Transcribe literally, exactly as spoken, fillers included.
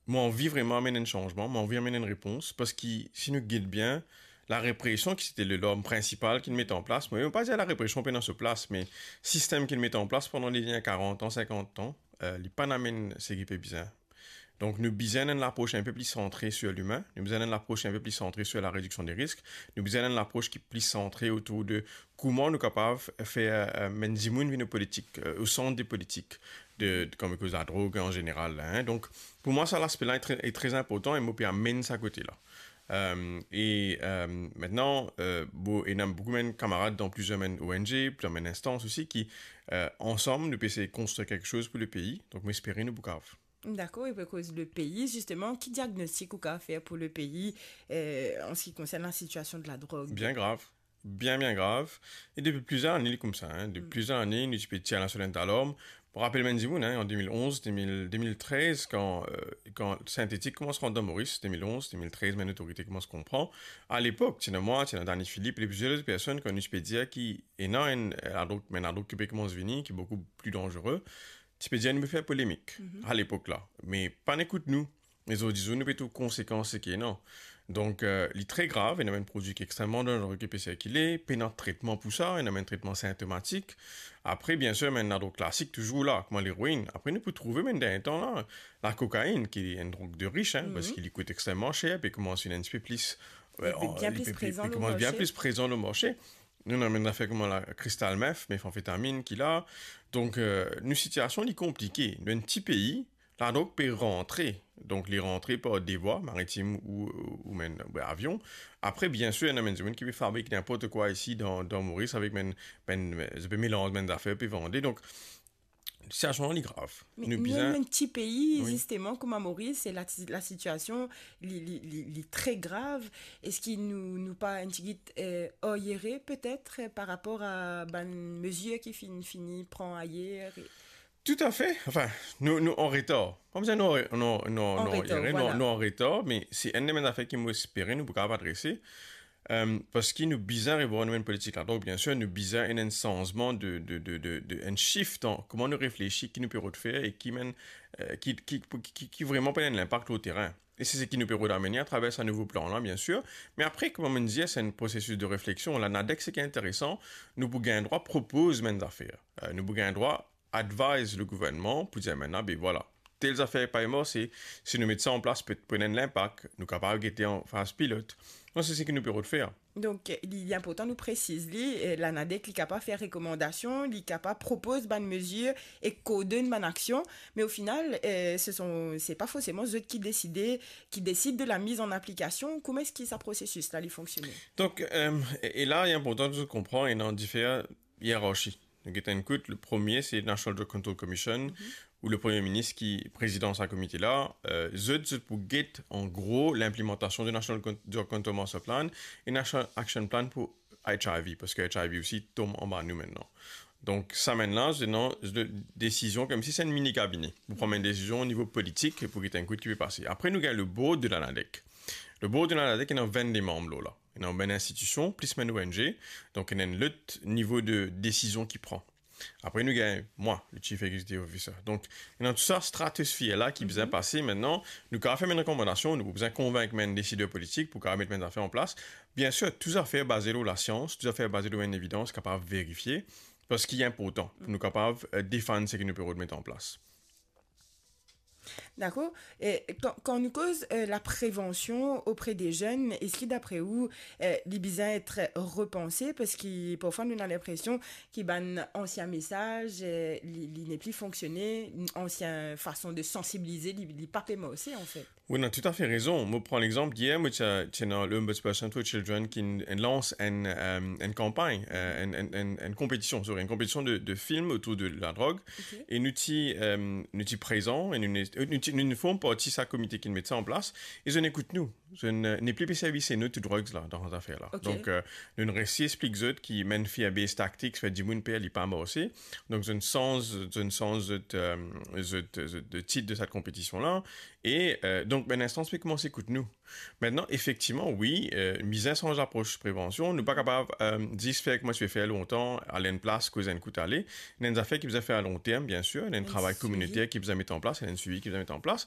mo anvi vreman amenn enn sanzman, mo anvi amenn enn repons, parski si nou get bien, larepresion ki ti ti larm prinsipal ki met an plas, mo pa dir larepresion pena so plas, me sistem ki met an plas pandan le dernie karant an, sinkant an, eh, li pa'nn amenn seki pe bizin. Donk, nou bizin enn lapros inpe pli santre sir limin, nou bizin enn lapros inpe pli santre sir larediksion de risk, nou bizin enn lapros ki pli santre otour de kouma nou kapav fer, eh, bann dimoun vinn o politik, eh, o sant de politik, de, de, kan nou koz ladrog an zeneral la, hein. Donk, pou mwa, sa laspe la li tre, li tre inportan e mo pe amenn sa kote la. Eh, e, eh, aster, eh, bon, ena boukou bann kamarad dan plizier bann O N G, plizier bann instans osi ki, eh, ansam, nou pe esey konstrir kiksoz pou lepei. Donk, mo espere nou pou kapav. Dakor, e pou koz lepei, zisteman, ki diagnostik ou kapav fer pou lepei, eh, an se ki konsern lasitiasion de ladrog? Bien grav. Bien, bien grav. E depi plizier lane, li koumsa, hein. Depi plizier lane, nou ti pe tir la sonnet dalarm. Pou rapel bann dimoun, hein, an de mil onz, de mil, de mil trez, kan, eh, kan sintetik koumans rant dan Moris, de mil onz, de mil trez, bann lotorite koumans konpran. Alepok, ti ena mwa, ti ena Dany Philippe, e plizier lot personn, kan nou ti pe dir ki ena enn, eh, ladrog, bann ladrog ki pe koumans vini, ki boukou pli danzere, ti pe dir nou pe fer polemik alepok la, me pa'nn ekout nou. Me zordi zour nou pe trouv konsekans seki ena. Donk, eh, li tre grav, ena bann prodwi ki extrememan danzere ki pe sirkile, pena tretman pou sa, ena bann tretman sintomatik. Apre, biensir, bann ladrog klasik touzour la, kouma leroinn. Apre, nou pou trouve, bann dernie tan la, lakokainn, ki enn drog de rich, hein, parski li kout extrememan ser, pe koumans vinn enn tipe plis, eh, bien plis prezan lor marse. Li pe koumans vinn bien plis prezan lor marse. Nou ena bann zafer kouma la crystal meth, methamphetamine ki la. Donk, eh, nou sitiasion li konplike. Nou enn ti pei, ladrog pe rantre. Donk, li rantre par de vwa, maritim ou, ou mem, eh, avion. Apre, biensir, ena bann dimoun ki pe fabrik ninport kwa isi dan, dan Moris avek bann, bann, eh, zot pe melanz bann zafer, pe vande. Donk, sitiasion li grav. Me nou bizin, nou enn ti pei, zisteman, kouma Moris, e la, lasitiasion, li, li, li, li tre grav. Eski nou, nou pa enn tigit, eh, aryere, petet, eh, par rapor a bann mezir ki finn, fini pran ayer? Toutafe. Anfin, nou, nou an retar. Pa bizin nou, nou, nou, nou an retar, aryere, nou, voilà, nou an retar, me se enn de bann zafer ki mo espere nou pou kapav adrese. Eh, parski nou bizin revwar nou bann politik la. Donk, biensir, nou bizin enn, enn sanzman de, de, de, de, de, enn shift dan kouma nou reflesi, ki nou pe rod fer e ki bann, eh, ki, ki, ki, ki, ki vreman pou ena enn linpak lor terin. E se seki nou pe rod amenn atraver sa nouvo plan la, biensir. Me apre, kouma mo dir, se enn prosesis de refleksion. La, Nadec, seki interesan, nou pou gagn drwa propoz bann zafer. Eh, nou pou gagn drwa advise legouvernman pou dir, aster, be vwala, tel zafer pa marse, si nou met sa an plas, pe, pou ena enn linpak, nou kapav gete an faz pilot. Donk, se seki nou pe rod fer. Donk, li, li inportan nou presiz li, eh, la Nadec, li kapav fer rekomandasion, li kapav propoz bann mezir e koordonn bann aksion, me o final, eh, se son, se pa forseman zot ki deside, ki desid de la miz an aplikasion. Kouma eski sa prosesis la, li fonksione? Donk, eh, e, e la, li inportan de konpran, ena difer ierarchi. Nou get enn kout, le premie, se National Drug Control Commission, ou le Premie Minis ki prezidan sa komite la. Eh, zot, zot pou get, an gro, linplimantasion de National Con-, Drug Control Master Plan e National Action Plan pou H I V, parski H I V osi tom anba nou aster. Donk, sa bann la, se dan, se de, desizion, koumsi se enn mini kabine. Pou pran bann desizion o nivo politik, pou get enn kout ki pe pase. Apre, nou gagn le board de la Nadec. Le board de la Nadec, ena vennde manm lor la. Ena bann institision, plis bann O N G, donk ena enn lot nivo de desizion ki pran. Apre, nou gagn mwa, le Chief Executive Officer. Donk, ena tou sa stratosfer la ki bizin pase aster. Nou kapav fer bann rekomandasion, nou pou bizin konvink bann desider politik pou kapav met bann zafer an plas. Biensir, tou zafer baze lor lasians, tou zafer baze lor bann evidans, kapav verifie, parski li inportan pou nou kapav, eh, defann seki nou pe rod met an plas. Dakor. E kan, kan nou koz, eh, laprevansion opre de zenn, eski dapre ou, eh, li bizin et repanse? Parski parfwa nou ena linpresion ki bann ansien mesaz, eh, li, li nepli fonksione, ansien fason de sansibilize, li, li pa pe marse, anfet. Wi, ou ena toutafe rezon. Mo pran legzanp, yer, mo ti, ti ena le Ombudsperson for Children ki lans enn, eh, enn kanpagn, eh, enn, enn, enn, enn konpetision, sorry, enn konpetision de, de film otour de ladrog. Ok. E nou ti, eh, nou ti prezan, e nou, nou ti, nou, nou form parti sa komite ki met sa an plas, e zot inn ekout nou. Zot, euh, nepli pe servi se no to drugs la, dan zafer la. Ok. Donk, euh, nou resi explik zot ki menn fear-based tactics, fer dimoun per, li pa marse. Donk, zot sanz, zot sanz zot, euh, zot, zot, zot tit de sa konpetision la. E, euh, donk, ben, linstans pe koumans ekout nou. Aster, efektivman, wi, euh, bizin sanz lapros prevansion. Nou pa kapav, euh, zis fer kouma ti pe fer lontan, al enn plas, koz enn kout, ale. Ena enn zafer ki bizin fer a long term, bien sir. Ena enn Enn travay swivi. Kominiter ki bizin met an plas, ena enn swivi ki bizin met an plas.